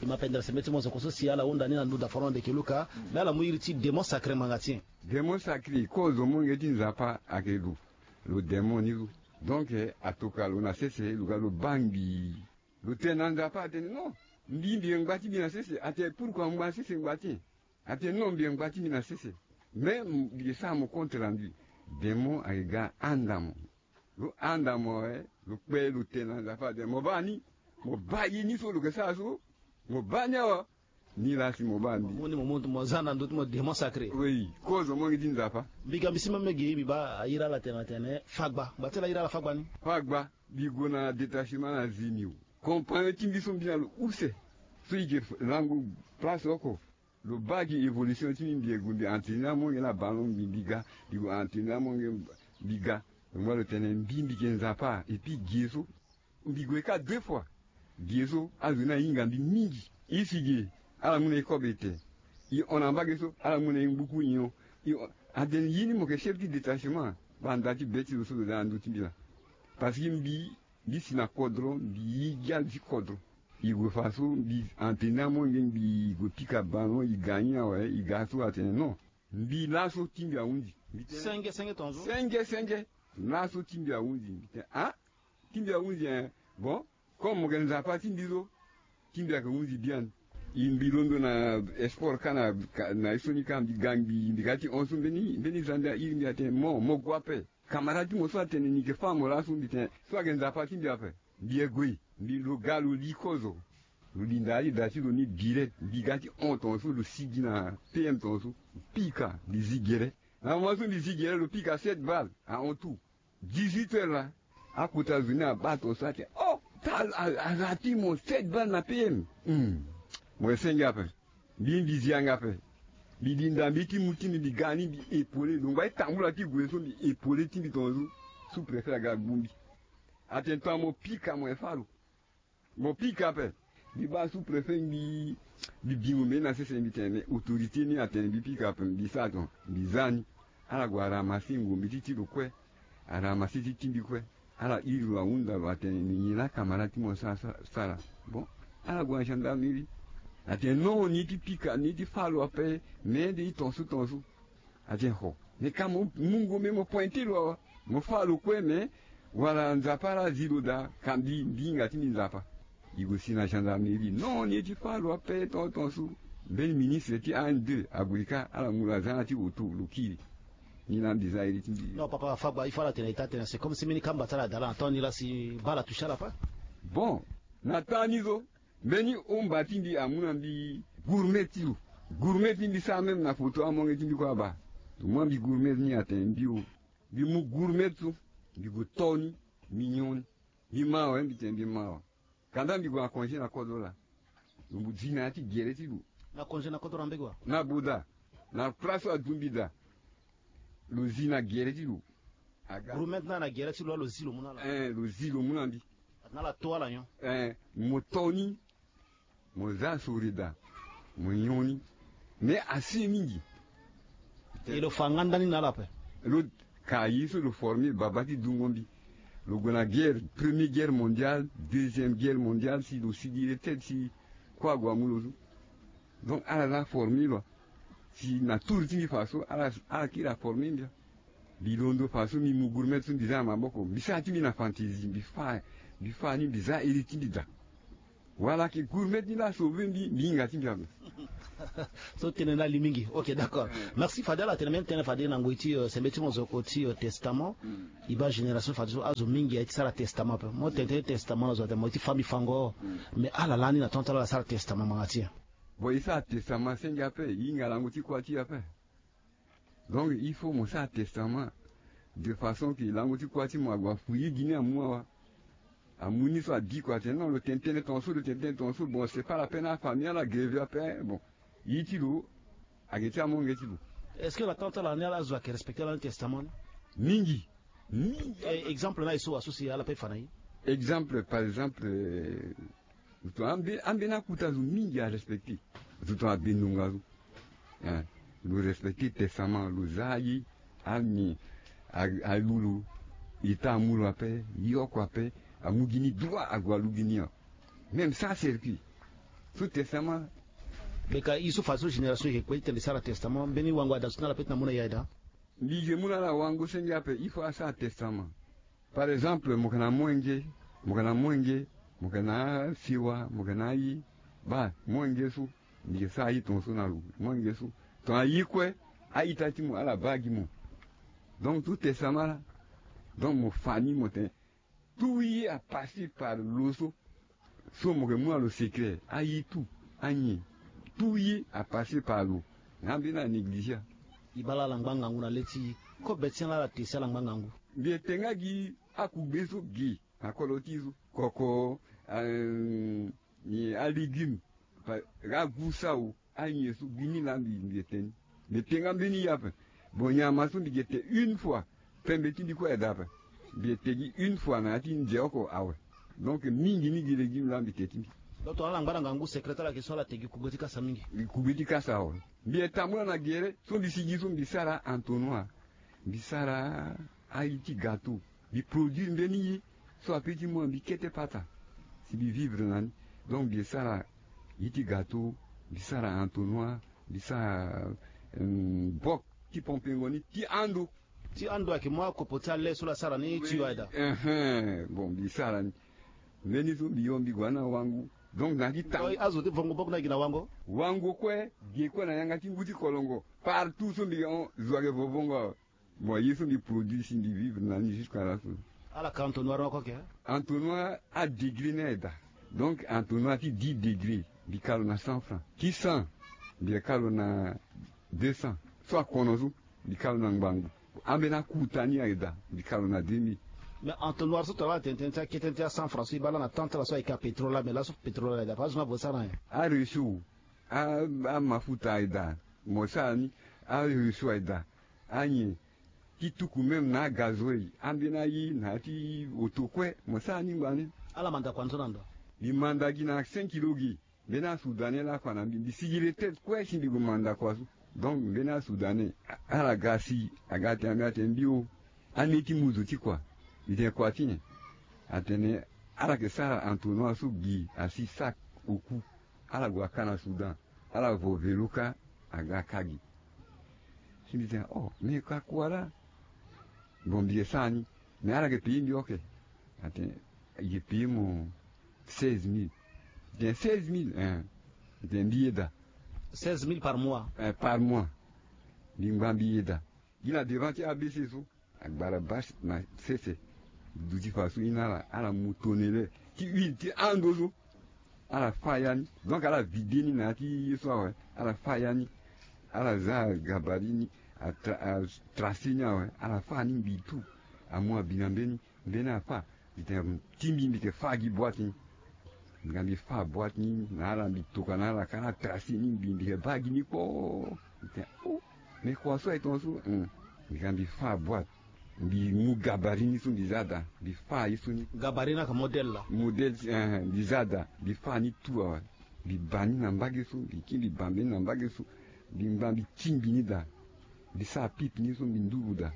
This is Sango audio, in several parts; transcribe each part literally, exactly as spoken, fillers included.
Mapendela sembe ti mo zo koso si ala hunda ni na nduda foro na ndeke luka. Mais ala mu iri ti démon sacré ngbanga ti nyen? Démon sacré kozo monge ti Nzapa ayeke lo. Lo démon ni lo. Donc atokua lo na sese lo ga lo baa ngbii. Lo tene na Nzapa atene non, mbi mbi yeke ngba ti mbi na sese. Atene pourquoi ngba sese ngba ti nyen? Atene non, mbi yeke ngba ti mbi na sese. Mais mbi yeke sara mo compte rendu. Démon ayeke ga ahanda mo. Lo handa mo awe, lo kpe lo tene na Nzapa atene mo baa ni. Mo baa ye ni so lo yeke sara so. Mo baa ni awa. Ni laa si mo baa mbi. Mo ni mo mu mo za na ndö ti mo démon sacré. Oui, kozo monge ti Nzapa. Mbi ga mbi si même ge mbi baa ayiri ala tene atene fagba. Ngba ti ala ayiri ala fagba ni. Fagba. Mbi gue na détachement na Zimio. Compagnon ti mbi so mbi na lo use. So e yeke lango place oko. Lo baa gi évolution ti mbi, mbi yeke gue mbi entraîner amonge na ballon mbi mbi ga. Mbi gue entraîner amonge mbi ga. Lo ngba lo tene mbi mbi yeke Nzapa et puis ge so. Mbi gue kâ deux fois. Ge so azo ni ahinga mbi mingi. E si ge ala mu na e kobe ete. E hon na mbage so ala mu na e ngbuku nyon. E hon atene ye ni mo yeke chef ti détachement. Baa nda ti be ti lo so lo daa na ndö ti mbi laa. Parce que mbi mbi si na kodro mbi ye gi ala ti kodro. E gue fa so mbi entraîner amonge mbi gue pika ballon e ga ni awe e ga so atene non. Mbi laso ti mbi ahunzi. Mbi tene senge senge tongaso. Senge senge. Laso ti mbi ahunzi mbi tene ah. Ti mbi ahunzi hein. Bon. Comme mo yeke Nzapa ti mbi so. Ti mbi ayeke hunzi biani. E mbi londo na esport kâ na na ye so ni kâ mbi ga ngbii mbi ga ti hon so mbeni mbeni zande airi mbi atene mo mo gue ape. Camarade ti mo so atene ni yeke fâ mo laso mbi tene so ayeke Nzapa ti mbi ape. Mbi yeke gue mbi lo ga lo li kozo. Lo linda ali da ti lo ni direct mbi ga ti hon tongaso lo sigi na P M tongaso. Pika mbi zi gere. Na moment so mbi zi gere lo pika sept balles ahon tout. Dix-huit heures laa. Akota zo ni abaa tongaso atene oh ta aza ti mo sept balles na P M. Hum. Mo yeke senge ape. Mbi mbi zi yanga ape. Mbi linda mbi ti mu ti mbi mbi ga ni mbi épauler lo ngba ti tambula ti gue so mbi épauler ti mbi tongaso. Sous-préfet aga gbu mbi. Atene tonga mo pika mo yeke fâ lo. Mo pika ape. Mbi baa sous-préfet mbi mbi bingo mbeni na sese mbi tene mais autorité ni atene mbi pika ape mbi sara tonga mbi za ni. Ala gue aramassé ngombe ti ti lo kue. Aramassé ti ti mbi kue. Ala iri lo ahunda lo atene ni nyen laa camarade ti mo sara sara. Bon. Ala gue na gendarmerie. Atene non ni ti pika ni ti fâ lo ape. Mais nde ti tongaso tongaso. Atene ho. Mais ka mo mu ngombe mo pointé lo awa. Mo fâ lo kue mais wala Nzapa laa azi lo daa. Ka mbi mbi hinga ti mbi Nzapa. E gue si na gendarmerie non ni ye ti fâ lo ape tongaso. Mbeni ministre ti A N deux ague kâ ala mu lo aza na ti hoto lo kiri. Ni laa mbi za iri ti mbi. Non papa Fagba il faut ala tene ita tene c'est comme si mbeni kamba ti ala daa laa na temps ni laa si baa ala touché ala ape. Bon. Na temps ni so. Mbeni omba ti mbi amu na mbi gourmet ti lo. Gourmet ti mbi sara même na photo amonge ti mbi kue abaa. Lo mu na mbi gourmet ni atene mbi o. Mbi mu gourmet so. Mbi gue to ni. Mbi nyon ni. Mbi mä awe mbi tene mbi mä awe. Kanda mbi gue na congé na kodro laa. Lo mu zi na ya ti gere ti lo. Na congé na kodro na mbege wa? Na boda. Na place so adu mbi daa. Lo zi na gere ti lo. Aga. Gourmet ni na gere ti lo laa lo zi lo mu na ala. Eh lo zi lo mu na mbi. Atene ala to ala nyon. Eh mo to ni. Mo za sori daa. Mo nyon ni. Mais asi mingi. E lo fa nga ndani na ala ape. Lo ka ye so lo formé baba ti dungo mbi. Lo gue na guerre, première guerre mondiale, deuxième guerre mondiale si lo sigi retraite si kue ague amu lo so. Donc ala laa formé lo. Si na tour ti mbi fa so ala ala kiri aformé mbi. Mbi londo fa so mbi mu gourmet so mbi za na maboko mbi sara ti mbi na fantaisie mbi fâ. Mbi fâ ni mbi za iri ti mbi daa. Wala ayeke gourmet ni laa asauve mbi mbi hinga ti mbi ape. So tënë ni ali mingi. Ok d'accord. Merci fade ala tene même tënë fade na ngoi ti sembe ti mo zo oko ti testament. E baa génération fade so azo mingi aye ti sara testament ape mo tene tënë testament na zo atene mo ye ti fâ mbi fango. Mais ala lani na temps ti ala ala sara testament ngbanga ti nyen? Bon e sara testament senge ape e hinga lango ti kuâ ti e ape. Donc il faut mo sara testament de façon ke lango ti kuâ ti mo ague afu ye gi ni amu awa. Amu ni so abiko atene non lo tene tënë tongaso lo tene tënë tongaso bon c'est pas la peine afamille ala greve ape. Bon ye ti lo ayeke ti amonge ti lo. Est-ce que na temps ti ala ni ala zo ayeke respecter lani testament ni? Mingi. Mingi. Exemple na ye so wa so si ala pe fa na ye. Exemple par exemple. Zo tongana ambeni akuta zo mingi arespecte. Zo tongana abenonga zo. Lo respecte testament lo za aye. Ami alu lo. Eta amu lo ape. Ye oko ape. Amu gi ni droit ague alu gi ni. Même sans circuit. So testament. Meka i so fa so génération yeke kue ti tene sara testament mbeni wango ada so na ala pe ti na mu na ya eda. Mbi yeke mu na ala wango senge ape il faut asara testament. Par exemple mo yeke na mwenge, mo yeke na mwenge, mo yeke na asiwa, mo yeke na aye. Baa mwenge so mbi yeke sara aye tongaso na lo mwenge so. Tongana aye kue a-ita ti mo ala baa gi mo. Donc tout testament la. Donc mo fa ni mo tene tout ye a passer par lo so. So mo yeke mu na lo secret aye tout, anyen, tout ye a passer par lo. Na ambeni a négligea. E baa la ala ngba ngangu na le ti e. Kobe ti ala ala te si ala ngba ngangu. Mbi ete nga gi akugbe so gi na kolo ti e so koko, alégume, agu so awu, anyen so gi ni laa mbi ete ni. Mbi ete nga mbeni ye ape. Bon nyama so mbi gi ete une fois. Pembe ti mbi kue aye daa ape. Mbi ete gi une fois na ya ti nze oko awe. Donc mingi ni gi légume laa mbi te ti mbi. Donc tongana ala ngba na ngangu secret ti ala yeke so ala te gi kugbe ti kasa mingi. Gi kugbe ti kasa awe. Mbi ete tambula na gere so mbi si gi so mbi sara entonnoir. Mbi sara aye ti gâteau. Mbi produire mbeni ye so ape ti mu na mbi kete pata. Si mbi vivre na ni. Donc mbi sara ye ti gâteau, mbi sara entonnoir, mbi sara bok ti pompengo ni ti ando. Ti ando ayeke mu akopo ti ale so la sara ni ti yo aye daa. Bon mbi sara ni. Mbeni so mbi yo mbi gue na wango. Donc na ti tan azo ti vongo bok na gi na wango. Wango kue ge kue na yanga ti ngu ti kolongo. Partout so mbi hon zo ayeke vovongo awe. Bon ye so mbi produit si mbi vivre na ni jusqu'à la fin. Ala ka entonnoir ni oko ake? Entonnoir adegré ni aye daa. Donc entonnoir ti dix degré mbi ka lo na cent francs, ti cent mbi ka lo na deux cents. So akono so mbi ka lo na ngbangbo. Ambeni akuta ni aye daa mbi ka lo na deux mille. Mais entonnoir so tongana ala tene tënë ti akete tënë ti acent francs so e baa la na temps ti ala so ayeke apétrole la mais laso pétrole la aye daa parce que so na vo sara nyen? Arechaud. Amafuta aye daa. Mo sara ni. Arechaud aye daa. Anyen ti tuku même na agazoil ambeni aye na ya ti oto kue mo sara ni ngba ni. Ala manda kua ni so na ndo? Mbi manda gi na cinq kilo gi. Mbeni asoudanais laa kua na mbi mbi sigi retraite kue si mbi gue manda kua so. Donc mbeni asoudanais ala ga si aga tene mbi atene mbi o. Ane ti muzu ti kua? Mbi tene kua ti nyen? Atene ala yeke sara entonnoir so gi asi sac oku. Ala gue aka na soudan. Ala vo velo kâ. Aga aka gi. Si mbi tene oh mais ka kua laa. Bon mbi yeke sara ni. Mais ala yeke payer mbi oke. Atene i yeke payer mo seize mille. Mbi tene seize mille? Hein. Mbi tene mbi yeda. Seize mille par mois? Hein par mois. Mbi ngba mbi yeda. Gi na devant ti abc so. Agbara bâche na sese. Duti fa so i na ala ala mu tonele ti huile ti ando so. Ala fâ ya ni. Donc ala vide ni na ya ti ye so awe. Ala fâ ya ni. Ala za gabari ni. Atrase ni awe ala fâ ni mbi tout. Amu abi na mbeni mbeni afâ. Mbi tene ti mbi mbi yeke fâ gi boîte ni. Nga mbi fâ boîte ni na ala mbi toka na ala ka ala trase ni mbi mbi yeke baa gi ni kpoo. Mbi tene oh. Mais kua so aye tongaso. Mbi ga mbi fâ boîte. Mbi mu gabari ni so mbi za daa mbi fâ ye so ni. Gabari ni aka modèle la? Modèle ti eh mbi za daa mbi fâ ni tout awe. Mbi ba ni na mbage so mbi kiri mbi ba mbeni na mbage so. Mbi ngba mbi ti mbi ni daa. Mbi sara pipe ni so mbi nduru daa.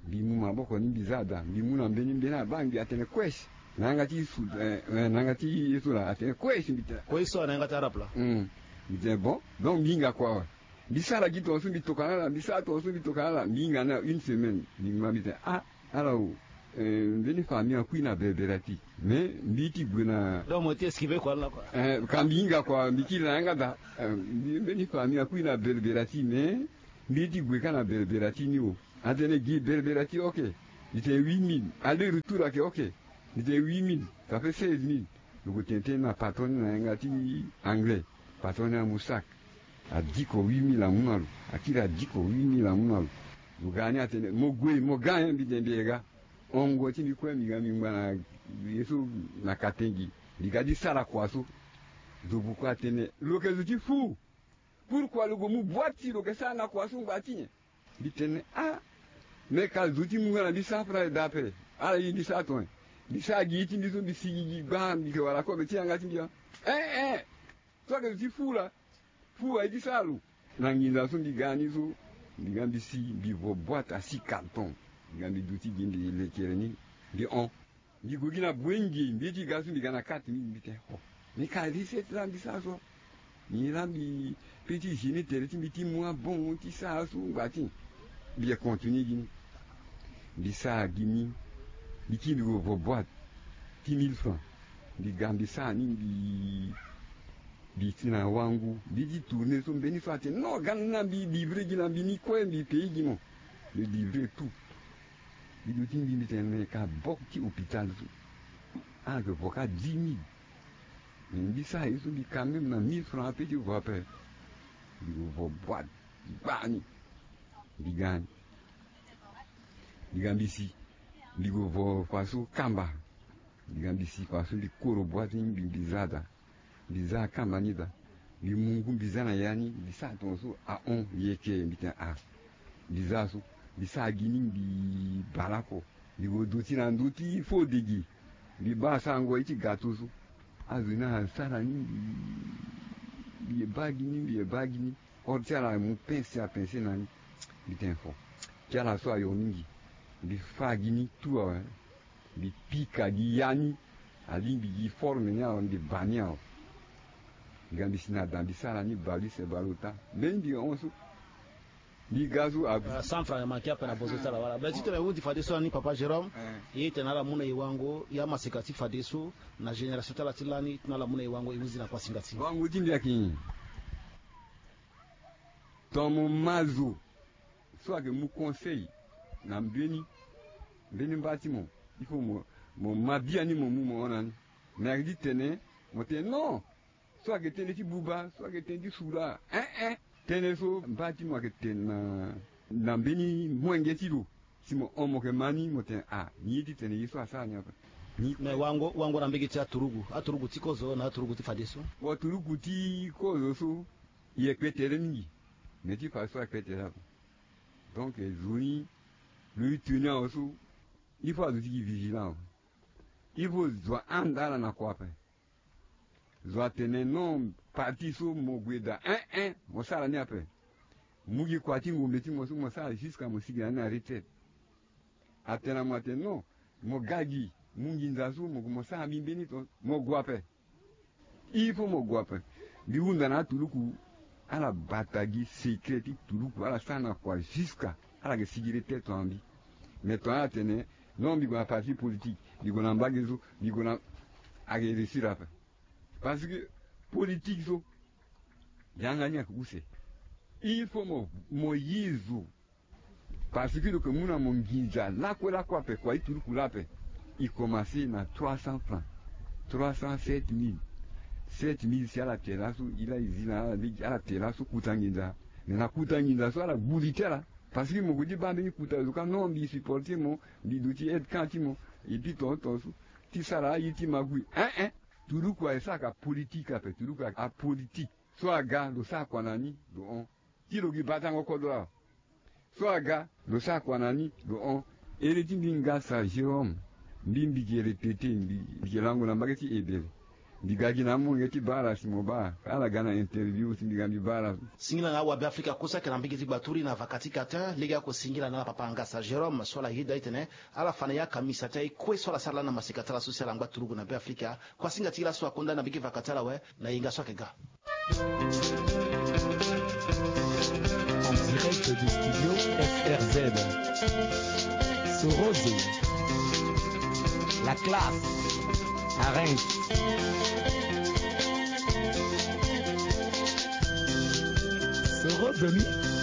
Mbi mu maboko ni mbi za daa mbi mu na mbeni mbeni abaa mbi atene kues. Na yanga ti su eh na yanga ti ye so laa atene kues mbi tene. Kues so na yanga ti arabe laa. Mbi tene bon. Donc mbi hinga kua awe. Mbi sara gi tongaso mbi toka na ala mbi sara tongaso mbi toka na ala mbi hinga ni na une semaine mbi ngba mbi tene ah. Ala o. Mbeni famille akui na belberati. Mais mbi ti gue na. Donc mo ti esquiver kua laa kua. Ka mbi hinga kua mbi kiri na yanga daa. Mbeni famille akui na belberati mais mbi ti gue kâ na belberati ni o. Atene gi belberati oke. Mbi tene huit mille aller retour ayeke oke. Mbi tene huit mille. Ça fait seize mille. Lo gue tene tënë na patron ni na yanga ti anglais. Patron ni amu sac. Adiko huit mille amu na lo. Akiri adiko huit mille amu na lo. Lo ga ni atene mo gue mo ga nyen? Mbi tene mbi ye ga. Hongo ti mbi kue mbi ga mbi ngba na ye so na katengi. Mbi ga ti sara kua so. Zo buku atene lo yeke zo ti fou. Pourquoi lo gue mu boîte ti lo yeke sara na kua so ngba ti nyen? Mbi tene ah. Me ka zo ti mu nga na mbi sara fana aye daa ape. Ala ye mbi sara tonga. Mbi sara gi ye ti mbi so mbi sigi gi gbaa mbi yeke wara kobe ti yanga ti mbi ah. Eh eh. So ayeke zo ti fou laa. Fou aye ti sara lo. Na nginza so mbi ga ni so. Mbi ga mbi si mbi vo boîte asi carton. Mbi ga mbi duti gi mbi lekere ni. Mbi hon. Mbi gue gi na bue nge mbi ye ti ga so mbi ga na kate mbi mbi tene oh. Mbi ka risete la mbi sara so. Nyen la mbi pe ti gêner tere ti mbi ti mu abon ti sara so ngba ti. Mbi ye continuer gi ni. Mbi sara gi ni. Mbi kiri mbi gue vo boîte ti mille francs. Mbi ga mbi sara ni mbi, mbi ti na wangu. Mbi ti tourner so mbeni so atene non, ga ni na mbi livrer gi na mbi ni kue mbi payer gi mo. Mbi livrer tout. Mbi duti mbi mbi tene mbi ka bok ti hôpital so. Ala yeke vo ka dix mille. Mais mbi sara ye so mbi quand même na mille francs ape ti vo ape. Mbi gue vo boîte gbani. Mbi ga ni. Mbi ga mbi si. Mbi gue vo fa so kamba. Mbi ga mbi si fa so mbi koro boîte ni mbi, mbi za daa. Mbi za akamba ni daa. Mbi mu ngu mbi za na ya ni mbi sara tongaso ahon yeke mbi tene ah. Mbi za so. Mbi sara gi ni mbi bale oko. Mbi gue duti na ndö ti fo dege. Mbi baa sarango ye ti gâteau so. Azo ni asara ni mbi, mbi ye baa gi ni mbi ye baa gi ni. Ode ti ala amu pince apince na ni. Mbi tene fo. Ti ala so ayo mingi. Mbi fâ gi ni tout awe. Mbi pika gi ya ni. Alingbi gi forme ni awe mbi ba ni awe. Nga mbi si na da mbi sara ni bale use bale ota. Mbeni mbi hon so. Mbi ga so a. Ah, cent francs manqué ape na bozo ti ala wala. Mais ti tene e hundi fadeso lani papa Jérôme. Eh. Ye tene ala mu na e wango ya maseka ti fadeso na génération ti ala ti lani tena ala mu na e wango e hundi na kuasinga ti. Wango ti mbi ayeke nyen? Ton mo ma zo so ayeke mu conseil na mbeni, mbeni mba ti mo. Il faut mo, mo ma biani mo mu mo hon na ni. Mais ayeke ti tene mo tene non. So ayeke tënë ti buba, so ayeke tënë ti sura. Eh eh. Tënë so mba ti mo ayeke tene na, na mbeni mwenge ti lo. Si mo hon mo yeke ma ni mo tene ah, ni ye ti tene ye so asara ni ape. Ni. Mais wango, wango na mbege ti aturugu, aturugu ti kozo na aturugu ti fadeso. Aturugu ti kozo so, e yeke tere mingi. Mais ti fadeso ayeke tere ape. Donc zo ni, lo e tene awe so, il faut azo ti gi vigilant awe. Il faut zo ahanda ala na kua ape. Zo atene non, parti so mo gue daa, eh eh, mo sara ni ape. Mu gi kua ti ngombe ti mo so mo sara jusqu'à mo sigi na ni na retraite. Atene na mo atene non, mo ga gi, mu nginza so mo gue mo sara mbi mbeni ton, mo gue ape. Il faut mo gue ape. Mbi hunda na aturuku, ala bata gi secret ti turuku, ala sara na kua jusqu'à ala yeke sigi retraite ton na mbi. Mais ton ala tene non, mbi gue na parti politique, mbi gue na mbage so, mbi gue na, ayeke réussir ape. Parce que politique so, yanga ni ayeke use. Il faut mo, mo ye zo. Parce que lo yeke mu na mo nginza lakue lakue ape, kua ti turuku laa ape. E commencer na trois cents francs, trois cents, sept mille. Sept mille si ala te laso, e laa e zi na ala lege, ala te laso kuta nginza. Mais na kuta nginza so ala gbu li ti ala. Parce que mo gue ti baa mbeni kuta zo ka non, mbi supporter mo, mbi duti aide camp ti mo. Et puis tongaso ti sara aye ti magui. Eh eh. Turuku aye sara ka politique ape, turuku apolitique. So aga lo sara kua na ni, lo hon. Ti lo gi batango kodro awe. So aga lo sara kua na ni, lo hon. Ere ti mbi Ngasa Jérôme, mbi mbi gi répéter, mbi mbi gi lango na mbage ti Ebel. Mbi ga gi na amolenge ti bara si mo baa ala ga na interview si mbi ga mbi bara. Singila na awabe Afrika kosa ayeke na mbage ti Gbaturi na vaka ti katin lege ako singila na ala papa Ngasa Jérôme so ala yeda e tene ala fa na ya kamisa ti aye kue so ala sara lani na maseka ti ala so si ala ngba turugu na Be Afrika. Kuasinga ti laso akonda na mbage vaka ti ala awe. Na yenga so ayeke ga. En direct du studio F R Z. Sorozo. La classe. Arrange. Sorozo ni.